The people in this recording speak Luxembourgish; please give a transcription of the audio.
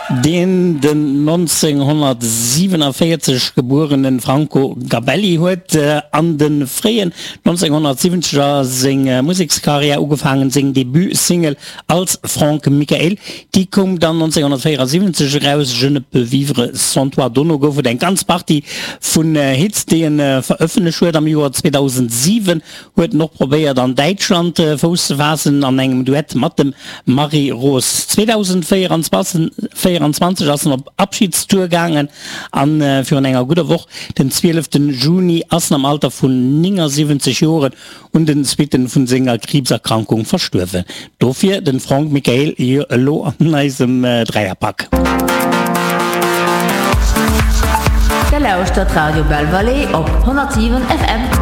Deen den 1947 gebuerene Franco Gabelli huet an de fréien 1970er seng Musekskarriär ugefaangen. Seng Debut-Single als Franck Michael, déi koum dann 1974 eraus, Je ne peux vivre sans toi. Dono gouf et eng ganz Partie vun Hits, déi en verëffentlecht huet. Am Joer 2007 Huet en och probéiert an Däitschland Fouss ze faassen an engem Duett mat dem Marie Roos. 2024 ass en op Abschiedstour gaangen an virun enger gudder Woch, den 12 Juni, ass en am Alter vun 79 Joren un den Suitten vun senger Kriibserkrankung verstuerwen. Dofir den Franck Michael elo an eisem Dräierpack. Der lauschtert Radio Belle Vallée op 107 FM.